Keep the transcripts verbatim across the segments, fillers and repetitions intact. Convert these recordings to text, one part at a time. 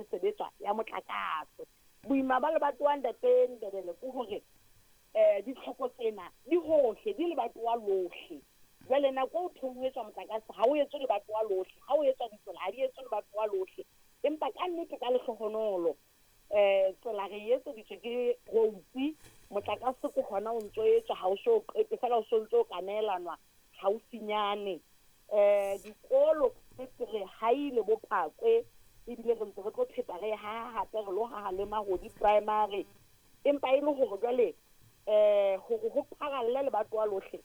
e sebetswa ya motlakase. Boima ba lebatowa ntate Ndebele ke hore eh ditlhoko tsena di hohle, di lebatowa lohle. Jwale nako o thong ho etswa motlakase ha o etswe lebatowa lohle, ha o etswa ditsela ha di etswe lebatowa lohle. Empa ka nnete ka lehlohonolo eh tsela re etseditswe ke roads, motlakase ke hona o ntso etswa, ha o so qete fela o so ntso ka neelanwa haufinyane. Eh dikolo tse re haile bo Phakwe ebile re ntse re tlo pheta re ha hape re lo haha le Mahodi Primary. Empa e le hore jwale eh hore ho pharalle lebatowa lohle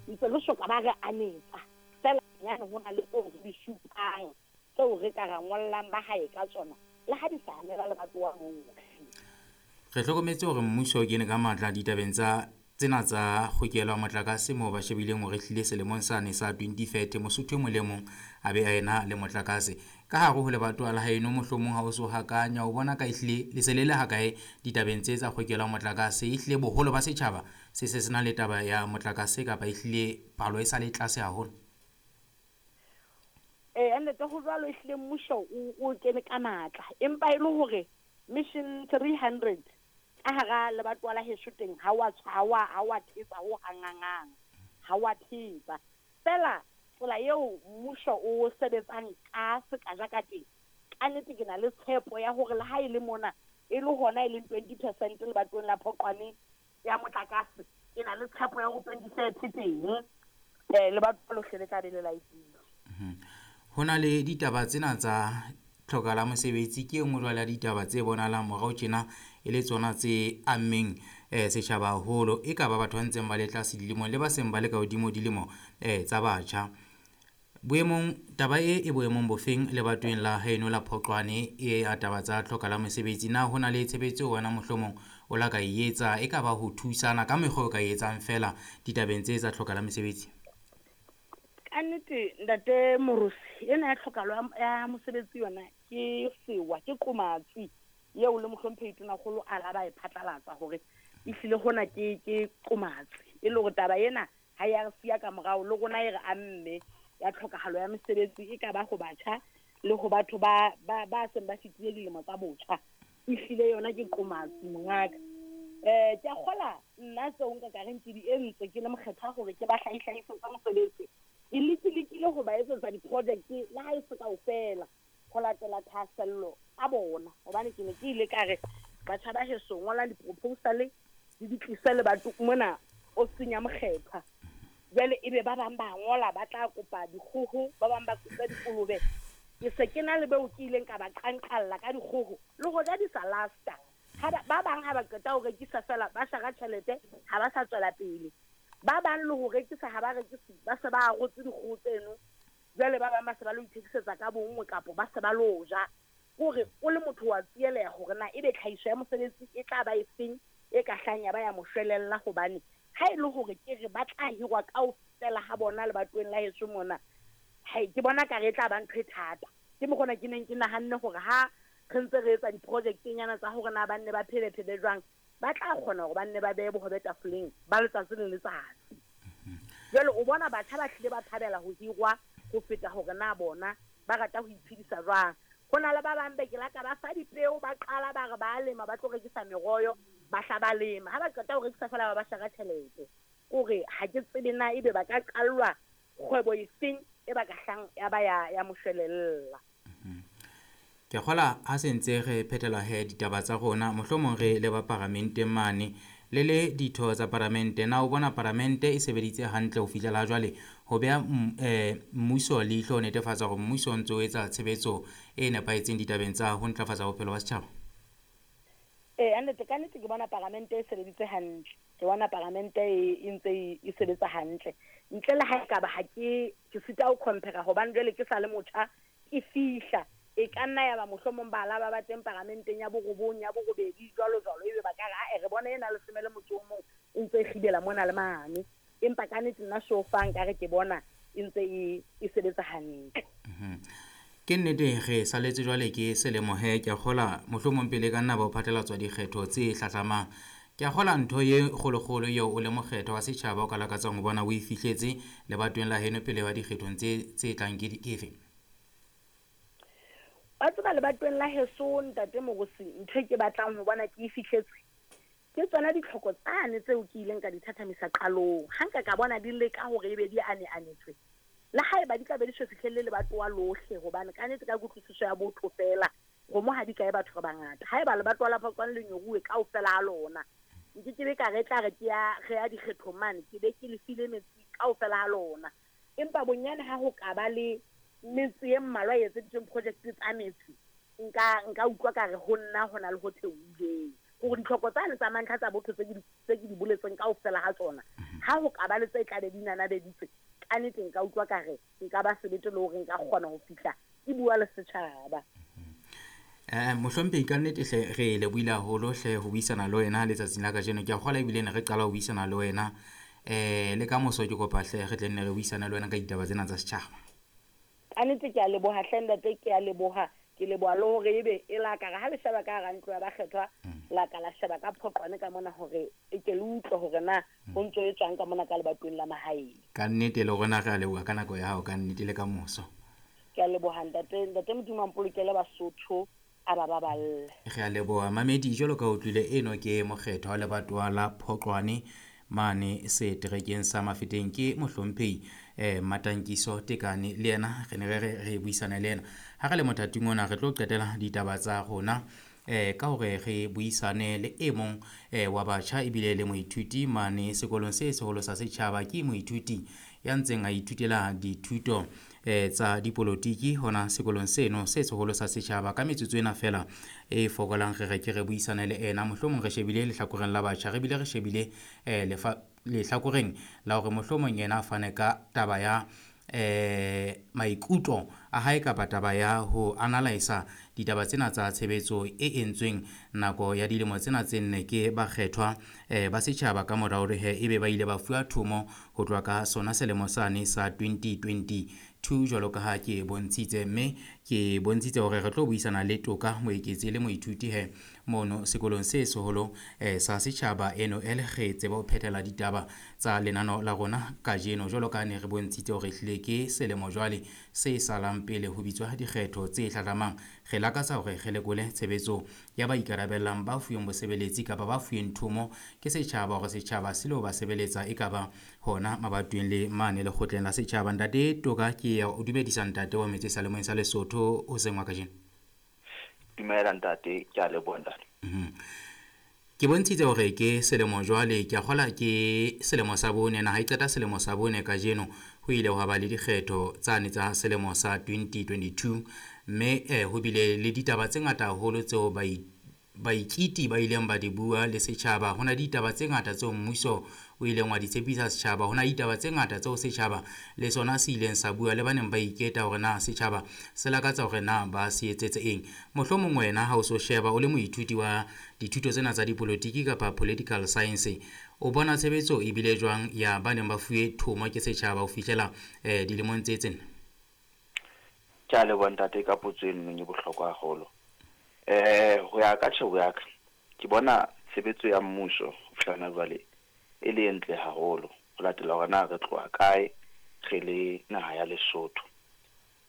ntse re soka ba re anetsa fela nyane ho na le tseo re di supang tseo re ka ra ngollang ba hae ka tsona le ha di sa anela lebatowa lohle. Re hlokometse hore mmuso o kene ka matla ditabeng tsa tsena tsa kgokelo ya motlakase moo ba shebileng hore ehlile selemong sane sa twenty thirty Mosotho e mong le mong a be a ena le motlakase. Ka hare ho lebatowa la haeno mohlomong ha o so hakanya o bona ka ehlile le se le le hakae ditabeng tse tsa kgokelo ya motlakase, ehlile boholo ba setjhaba se se se na le taba ya motlakase kapa ehlile palo e sa le tlase haholo? Eh nnete ho jwalo, ehlile mmuso o, o kene ka matla, empa e le hore mission three hundred ka hara lebatowa la heso teng ha wa tshwa, ha wa, ha wa thetsa ho hangangang, ha wa thetsa. Fela tsela eo mmuso o sebetsang ka sekaja ka teng, ka nnete ke na le tshepo ya hore le ha e le mona e le hona e leng twenty percent lebatoweng la Phoqwane ya motlakase, ke na le tshepo ya hore twenty thirty teng eh lebatowa lohle le tla be le laetile. Ho na le ditaba tsena tsa tlhoka la mosebetsi, ke e nngwe jwale ya ditaba tse bonahalang morao tjena e le tsona tse ammeng eh setjhaba haholo, e ka ba batho ba ntseng ba le tlase dilemong le ba seng ba le ka hodimo dilemo eh tsa batjha. Boemong taba e e boemong bofeng lebatoweng la haeno la Phoqwane e ya taba tsa tlhoka la mosebetsi? Na ho na le tshebetso eo wena mohlomong o la ka e etsa, e ka ba ho thusana ka mekgwa o ka e etsang fela ditabeng tse tsa tlhoka la mosebetsi? Ka nnete ntate Morusi, ena ya tlhokahalo ya mosebetsi yona ke sewa, ke qomatsi eo le mohlomphehi Tonakgolo a la ba e phatlalatsa hore ehlile hona ke, ke qomatsi, e le hore taba ena ha ya re siya ka morao le rona e re amme ya tlhokahalo ya mesebetsi, e ka ba ho batjha le ho batho ba, ba, ba seng ba fetile dilemo tsa botjha. Ehlile yona ke qomatsi mongaka. Eh ke a kgola nna tseo nka ka reng ke di entse ke le mokgethwa hore ke ba hlahihlahisetsa mosebetsi. Ke lekilekile ho ba etsetsa di-project le ha e se kaofela ho latela thahasello a bona, hobane ke ne ke ile ka re batjha ba heso ngola di-proposal le di tlise le batho mona ofising ya mokgethwa. Jwale ebe ba bang ba ngola ba tla kopa dikgoho, ba bang ba kopa dikolobe. Ke se ke na le beo ke ileng ka ba qanqalla ka dikgoho le hoja di sa lasta. Ha ba, ba bang ha ba qeta ho rekisa fela ba shara tjhelete, ha ba sa tswela pele. Ba bang le ho rekisa ha ba rekise, ba se ba arotse dikgoho tseno. Jwale ba bang ba se ba lo ithekisetsa ka bonngwe kapo ba se ba lo ja. Hore o le motho wa tsieleha hore na ebe tlhahiso ya mosebetsi e tla ba efeng e ka hlang ya ba ya mo shwelella, hobane ha e le hore ke re ba tla hirwa kaofela ha bona lebatoweng la heso mona, hai ke bona ka re e tla ba ntho e thata. Ke mokgona ke neng ke nahanne hore ha re ntse re etsa di-project-nyana tsa hore na ba nne ba phele-phele jwang, ba tla kgona hore ba nne ba behe bohobe tafoleng ba letsatsi le letsatsi. Jwale o bona batjha ba hlile ba thabela ho hirwa ho feta hore na bona ba rata ho iphedisa jwang. Ho na le ba bang be ke la ka ba fa dipeo, ba qala ba re ba lema, ba tlo rekisa meroho, ba hla ba lema. Ha ba qeta ho rekisa fela ba ba shara tjhelete. Kore ha ke tsebe na ebe ba ka qallwa kgwebo efeng e ba ka hlang ya ba ya, ya moshwelella. Ke kgola ha se ntse re phethela he ditaba tsa rona, mohlomong re le ba paramenteng mane le le ditho tsa paramente, na o bona paramente e sebeditse hantle ho fihlela jwale ho beha m-, eh, mmuso leihlo ho netefatsa hore mmuso o ntso o etsa tshebetso e nepahetseng ditabeng tsa ho ntlafatsa bophelo ba setjhaba? Eh, nnete, ka nnete ke bona paramente e sebeditse hantle. Ke bona paramente e, e ntse e, e sebetsa hantle. Ntle le ha ekaba ha ke, ke sita ho compare hobane jwale ke sa le motjha, ke fihla. E ka nna ya ba mohlomong ba la ba ba teng paramenteng ya borobong, ya borobedi, jwalo jwalo, ebe ba ka re, ae, re bona ena leshome le motso o mong e ntse e kgibela mona le mane. Empa ka nnete nna so far nkare ke bona e ntse e, e sebetsa hantle. Mhm. Ke nnete re saletse jwale ke selemo he, ke a kgola mohlomong pele ka nna ba ho phatlalatswa dikgetho tse hlahlamang. Ke a kgola ntho e kgolokgolo eo o le mokgetho wa setjhaba o ka lakatsang ho bona o e fihletse lebatoweng la heno pele ba dikgethong tse, tse tlang ke di-, ke efe? Ba tseba lebatoweng la heso ntate Morusi, ntho e ke batlang ho bona ke e fihletse ke tsona ditlhoko tsane tseo ke ileng ka di thathamisa qalong. Ha nka ka bona di leka hore ebe di ane-anetswe, le haeba di tla be di so fihlelle lebatowa lohle, hobane ka nnete ka kutlwisiso ya botho feela kgomo ha di kae batho re bangata. Haeba lebatowa la Phokwane le nyoruwe kaofela ha lona, nke ke be ka re tla re ke ya re ya dikgethong mane, ke be ke le file metsi kaofela ha lona. Empa bonyane ha ho ka ba le metse e mmalwa e etseditsweng project tsa metsi, nka nka utlwa ka re ho nna ho na le ho theohileng. Hore ditlhoko tsane tsa mantlha tsa botho tse ke di tse ke di boletseng kaofela ha tsona, ha ho ka ba le tse tla be di nanabeditswe, ka nnete nka utlwa ka re nka ba sebete le hore nka kgona ho fihla ke bua le setjhaba. Eh mohlomphehi, ka nnete hle re lebohile haholo hle ho buisana le wena letsatsing la kajeno. Ke a kgolwa ebile ne re qala ho buisana le wena, eh le ka moso ke kopa hle re tle nne re buisane le wena ka ditaba tsena tsa setjhaba. Ka nnete ke a leboha hle ntate, ke a leboha. Ke leboha le hore ebe e la ka re ha le sheba ka hara ntlo ya bakgethwa, la ka la sheba ka Phoqwane ka mona hore e ke le utlwe hore na ho ntso e tswang ka mona ka lebatoweng la mahaeng. Ka nnete le rona re a leboha ka nako ya hao, ka nnete le ka moso. Ke a leboha ntate, ntate Modimo a mpolokele Basotho, a ba baballe. Re a leboha mamedi, jwalo ka utlwile eno ke mokgethwa wa lebatowa la Phoqwane mane seterekeng sa Mafeteng, ke mohlomphehi eh Matankiso Tekane. Le yena re ne re re re buisana le yena. Ha re le mothating ona re tlo qetela ditaba tsa rona eh ka hore re buisane le e mong eh wa batjha ebile le moithuti mane sekolong se seholo sa setjhaba. Ke moithuti ya ntseng a ithutela dithuto eh tsa dipolotiki hona sekolong seno se seholo sa setjhaba. Ka metsotso ena fela e fokolang re re ke re buisane le ena, mohlomong re shebile lehlakoreng la batjha, re bile re shebile eh lefa lehlakoreng la hore mohlomong yena a fane ka taba ya eh maikutlo a hae kapa taba ya ho analysa ditaba tsena tsa tshebetso e entsweng nako ya dilemo tsena tse nne ke bakgethwa eh ba setjhaba ka mora hore he ebe ba ile ba fuwa thomo ho tloha ka sona selemo sane sa twenty twenty-two, jwalo ka ha ke bontshitse. Mme ke bontshitse hore re tlo buisana le Toka Moeketsi le moithuti he mono sekolong se seholo eh sa setjhaba eno e le re tseba ho phethela ditaba tsa lenano la rona kajeno, jwalo ka ha ne re bontshitse hore ehlile ke selemo jwale se salang pele ho bitswa dikgetho tse hlahlamang. Re lakatsa hore re lekole tshebetso ya ba ikarabellang ba fuweng bosebeletsi kapa ba fuweng thomo ke setjhaba hore setjhaba se lo ba sebeletsa e ka ba hona mabatoweng le mane lekgotleng la setjhaba. Ntate Toka, ke ya o dumedisa ntate wa metse sa lemong sa Lesotho hoseng wa kajeno. Dumela ntate, ke a leboha ntate. Mhm. Ke bontshitse hore ke selemo jwale, ke a kgola ke selemo sa bone, naha e qeta selemo sa bone kajeno. Ho ile hwa ba le dikgetho tsane tsa selemo sa twenty twenty-two, mme eh ho bile le ditaba tse ngata haholo tseo baikiti ba ileng ba di bua le setjhaba. Ho na le ditaba tse ngata tseo mmuso o ileng wa di tshepisa setjhaba, ho na le ditaba tse ngata tseo setjhaba le sona se ileng sa bua le ba neng ba iketa hore na setjhaba se lakatsa hore na ba se etsetse eng. Mohlomong wena ha o so sheba o le moithuti wa dithuto tsena tsa dipolotiki kapa political science, o bona tshebetso e bile jwang ya ba neng ba fuwe thomo ke setjhaba ho fihlela eh dilemong tse tsena? Ke a leboha ntate ka potso eno e bohlokwa haholo. Eh ho ya ka tjhebo ya ka, ke bona tshebetso ya mmuso ho fihla jwale e le ntle haholo ho latela hore na re tloha kae re le naha ya Lesotho.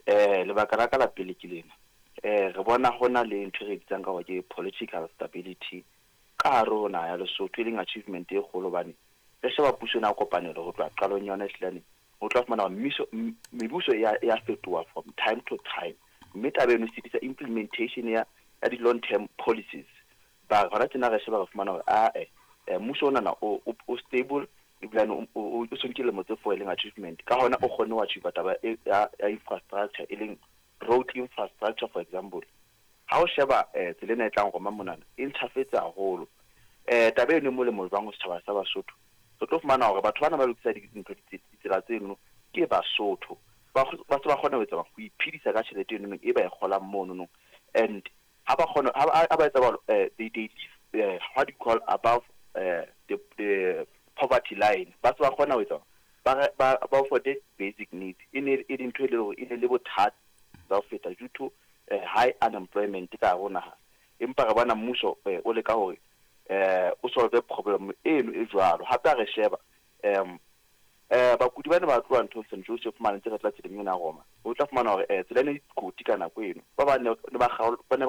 Eh lebaka la ka la pele ke lena. Eh re bona hona le ntho e re bitsang ka hore ke political stability ka hare ho naha ya Lesotho, e leng achievement e kgolo hobane re sheba puso ena ya kopanelo ho tloha qalong yona ehlilane, o tla fumana hore mmuso, mebuso e ya, e ya fetoha from time to time, mme taba eno e sitisa implementation ya, ya di-long term policies. Ba hona tjena re sheba re fumana hore ae mmuso ona na o, o, o stable ebilane o, o, o so nkile lemo tse four e leng achievement. Ka hona o kgonne ho achieve taba e, ya, ya infrastructure e leng road infrastructure for example. Ha o sheba eh tsela ena e tlang roma monana e ntjhafetse haholo. Eh taba eno e molemo jwang ho setjhaba sa Basotho? Re tlo fumana hore batho bana ba lokisa dintho ditsela tseno ke Basotho, ba ba se ba kgona ho etsa ho iphedisa ka tjhelete eno e ba e kgolang mono. And ha ba kgona ha ba etsa jwalo, eh they, they live eh, what do you call above eh the, the poverty line. Ba se ba kgona ho etsa ba ba ba afford basic needs. E ne e dintho e le hore e ne le bothata ba ho feta due to eh, high unemployment ka hare ho naha. Empa re bona mmuso eh, o leka hore eh o solve problem eno e jwalo. Hape ha re sheba um Eh bakudi ba ne ba tloha nthong Saint Joseph mane tse re tla tseleng ena Roma. O tla fumana hore eh tsela ene e dikoti ka nako eno. Ba bang ne ba kgaol ba ne